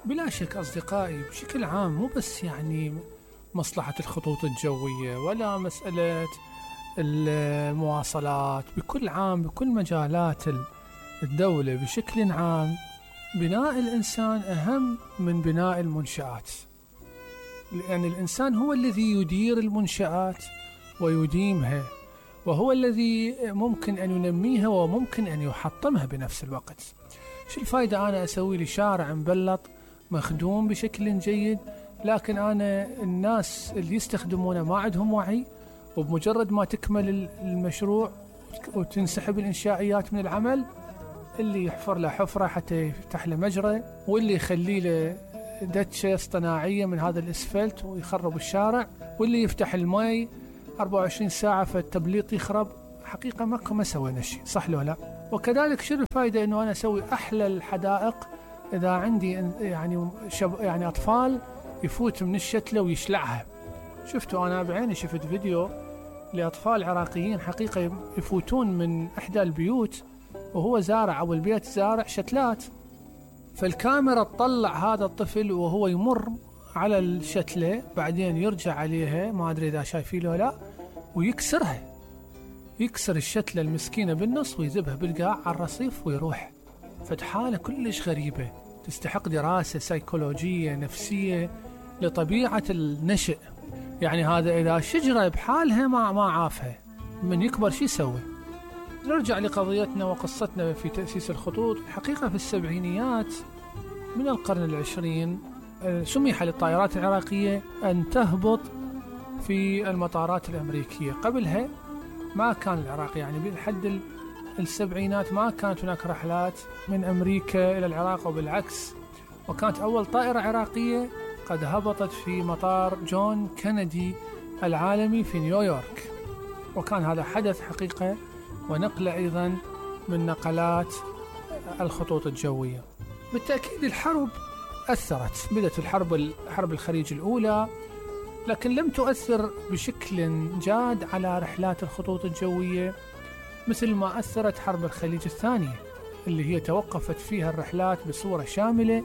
بلا شك أصدقائي، بشكل عام مو بس يعني مصلحة الخطوط الجوية ولا مسألة المواصلات، بكل عام بكل مجالات الدولة بشكل عام، بناء الإنسان أهم من بناء المنشآت، لأن الإنسان هو الذي يدير المنشآت ويديمها، وهو الذي ممكن أن ينميها وممكن أن يحطمها بنفس الوقت. شو الفايدة أنا أسوي لي شارع مبلط مخدوم بشكل جيد، لكن أنا الناس اللي يستخدمونه ما عندهم وعي، وبمجرد ما تكمل المشروع وتنسحب الإنشائيات من العمل، اللي يحفر له حفرة حتى يفتح له مجرى، واللي يخلي له دتشة اصطناعية من هذا الإسفلت ويخرب الشارع، واللي يفتح الماء 24 ساعة فالتبليط يخرب. حقيقة ما سوينا شيء، صح لو لا؟ وكذلك شو الفائدة إنه أنا أسوي أحلى الحدائق إذا عندي يعني أطفال يفوت من الشتلة ويشلعها. شفتوا أنا بعيني، شفت فيديو لأطفال عراقيين حقيقة يفوتون من إحدى البيوت وهو زارع، أو البيت زارع شتلات، فالكاميرا تطلع هذا الطفل وهو يمر على الشتلة، بعدين يرجع عليها، ما أدري إذا شايفين ولا لا، ويكسرها، يكسر الشتلة المسكينة بالنص ويذبها بالقاع على الرصيف ويروح. فحالة كلش غريبة تستحق دراسة سيكولوجية نفسية لطبيعة النشء. يعني هذا إذا شجرة بحالها ما عافها، من يكبر شي يسوي؟ نرجع لقضيتنا وقصتنا في تأسيس الخطوط. الحقيقة في السبعينيات من القرن العشرين سمح للطائرات العراقية أن تهبط في المطارات الأمريكية. قبلها ما كان العراق، يعني لحد السبعينات ما كانت هناك رحلات من أمريكا إلى العراق وبالعكس، وكانت أول طائرة عراقية قد هبطت في مطار جون كندي العالمي في نيويورك، وكان هذا حدث حقيقة ونقلة أيضا من نقلات الخطوط الجوية. بالتأكيد الحرب أثرت، بدأت حرب الخليج الأولى، لكن لم تؤثر بشكل جاد على رحلات الخطوط الجوية مثل ما أثرت حرب الخليج الثانية، اللي هي توقفت فيها الرحلات بصورة شاملة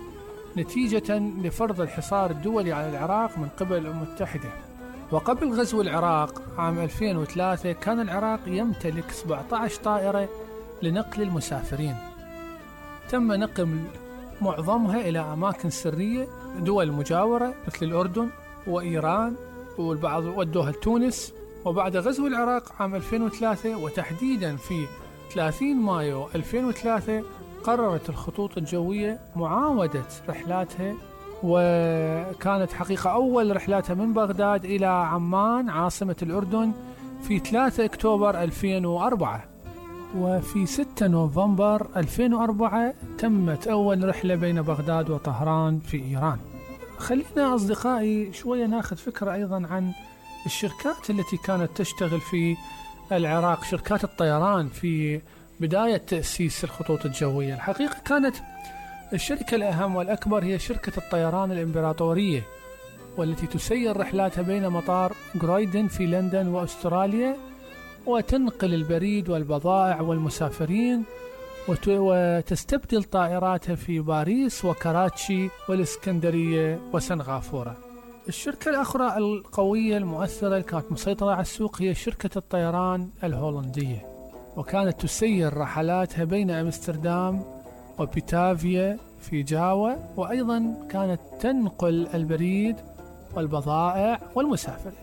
نتيجة لفرض الحصار الدولي على العراق من قبل الأمم المتحدة. وقبل غزو العراق عام 2003 كان العراق يمتلك 17 طائرة لنقل المسافرين، تم نقل معظمها إلى أماكن سرية دول مجاورة مثل الأردن وإيران، والبعض ودوها لتونس. وبعد غزو العراق عام 2003 وتحديدا في 30 مايو 2003 قررت الخطوط الجوية معاودة رحلاتها، وكانت حقيقة أول رحلاتها من بغداد إلى عمان عاصمة الأردن في 3 أكتوبر 2004، وفي 6 نوفمبر 2004 تمت أول رحلة بين بغداد وطهران في إيران. خلينا أصدقائي شوية ناخذ فكرة أيضا عن الشركات التي كانت تشتغل في العراق، شركات الطيران في بداية تأسيس الخطوط الجوية. الحقيقة كانت الشركة الأهم والأكبر هي شركة الطيران الإمبراطورية، والتي تسير رحلاتها بين مطار غرويدن في لندن وأستراليا، وتنقل البريد والبضائع والمسافرين، وتستبدل طائراتها في باريس وكراتشي والإسكندرية وسنغافورة. الشركة الأخرى القوية المؤثرة اللي كانت مسيطرة على السوق هي شركة الطيران الهولندية، وكانت تسير رحلاتها بين أمستردام وبيتافيا في جاوا، وأيضا كانت تنقل البريد والبضائع والمسافرين.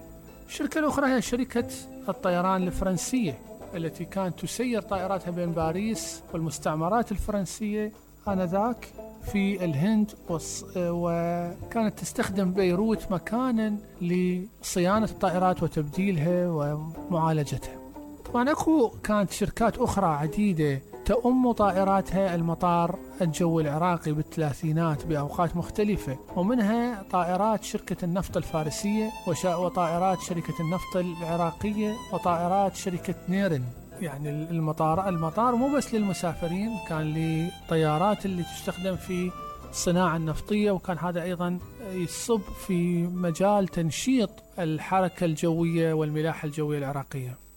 الشركة الأخرى هي شركة الطيران الفرنسية، التي كانت تسير طائراتها بين باريس والمستعمرات الفرنسية آنذاك في الهند، وكانت تستخدم بيروت مكانا لصيانة الطائرات وتبديلها ومعالجتها. طبعا كانت شركات أخرى عديدة تؤم طائراتها المطار الجوي العراقي بالثلاثينات بأوقات مختلفة، ومنها طائرات شركة النفط الفارسية وطائرات شركة النفط العراقية وطائرات شركة نيرن. يعني المطار مو بس للمسافرين، كان للطيارات اللي تستخدم في الصناعة النفطية، وكان هذا أيضا يصب في مجال تنشيط الحركة الجوية والملاحة الجوية العراقية.